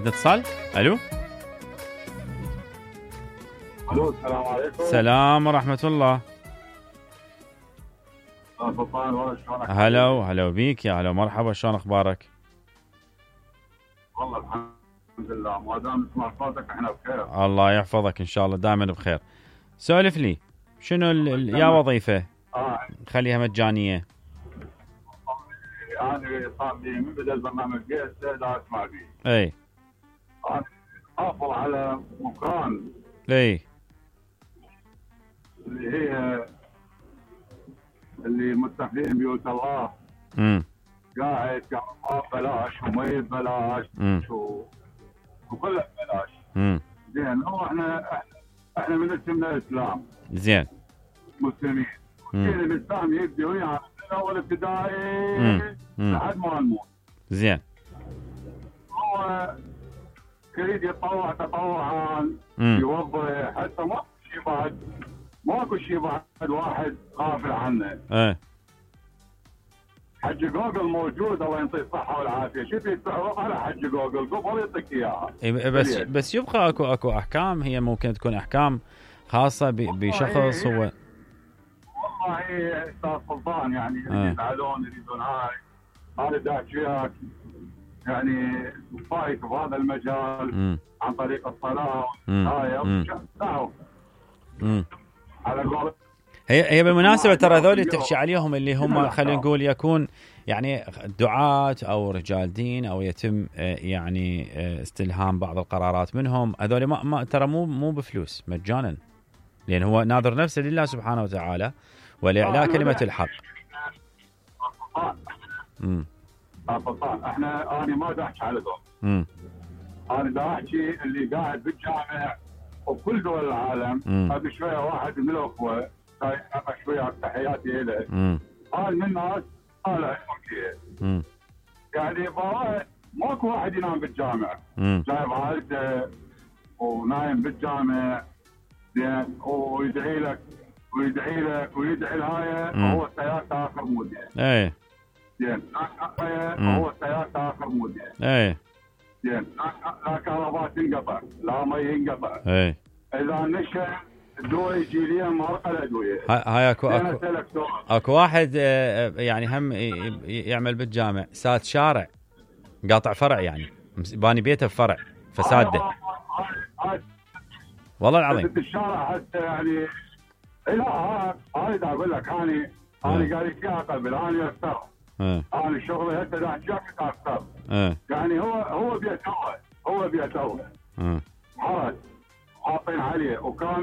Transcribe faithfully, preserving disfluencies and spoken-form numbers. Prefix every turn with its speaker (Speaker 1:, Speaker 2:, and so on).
Speaker 1: عندنا اتصال. الو
Speaker 2: الو السلام عليكم.
Speaker 1: السلام ورحمة الله.
Speaker 2: سلطان شلونك؟
Speaker 1: هلا وهلا بيك يا هلا مرحبا، شلون اخبارك؟
Speaker 2: والله الحمد لله، ما دام نسمع صوتك احنا بخير.
Speaker 1: الله يحفظك ان شاء الله دائما بخير. سولف لي شنو ال... ال... يا وظيفة
Speaker 2: اه
Speaker 1: خليها مجانية.
Speaker 2: انا صار لي من بدا البرنامج جيت لا اسمع فيه.
Speaker 1: اي
Speaker 2: انا حاصل على مكان
Speaker 1: اي
Speaker 2: اللي هي اللي مستقلين بيوت الله.
Speaker 1: امم
Speaker 2: قاعد كهرباء ببلاش ومي ببلاش و... وكله ببلاش.
Speaker 1: امم
Speaker 2: زين هو احنا احنا من اسمنا الاسلام.
Speaker 1: زين
Speaker 2: مسلمين. الدين الاسلام يبدي ويانا من اول ابتدائي لحد ما نموت.
Speaker 1: زين
Speaker 2: هو يريد يتطوع تطوعا يوظف حتى ما شيء بعد ماكو شيء بعد واحد غافل عنه.
Speaker 1: ايه
Speaker 2: حج جوجل موجود الله يعطيه الصحه والعافيه، شوف يتعرف على حج جوجل قبل يعطيك اياها.
Speaker 1: بس بس يبقى اكو اكو احكام، هي ممكن تكون احكام خاصه بشخص هو.
Speaker 2: والله استاذ سلطان يعني يزعلون يريدون هاي هذا داعش وياك يعني فايت بهذا المجال م. عن طريق الصلاه هاي تعرف على قول.
Speaker 1: هي هي بالمناسبه ترى هذول تحكي عليهم اللي هم خلينا نقول يكون يعني دعاة او رجال دين او يتم يعني استلهام بعض القرارات منهم، هذول ما, ما ترى مو مو بفلوس مجانا، لان هو ناظر نفسه لله سبحانه وتعالى ولاعلاء كلمه الحق.
Speaker 2: امم احنا انا ما دا احكي على دول. امم انا دا احكي اللي قاعد بالجامع وكل دول العالم. هذا شويه واحد من الاخوه انا شويه تحياتي له. قال من الناس طالع تركيا. يعني ماكو واحد ينام بالجامع. جايب عائلته ونايم بالجامع زين ويدعي لك ويدعي لك ويدعي الهايه وهو سيارته اخر مود يعني.
Speaker 1: ايه
Speaker 2: زين هو سيارته اخر مود يعني.
Speaker 1: ايه
Speaker 2: زين لا كهرباء تنقطع لا مي ينقطع.
Speaker 1: ايه
Speaker 2: اذا نشا الدواء يجي لي مرقه الادويه.
Speaker 1: هاي اكو اكو اكو واحد يعني هم يعمل بالجامع ساد شارع قاطع فرع يعني باني بيته بفرع فساده والله العظيم.
Speaker 2: الشارع حتى يعني لا هاي دا اقول لك انا انا قال لك يا قبل انا اكثر انا شغلي هسه دا احكي اكثر يعني هو هو بيته هو بيته حرج حاطين عليه وكاميرا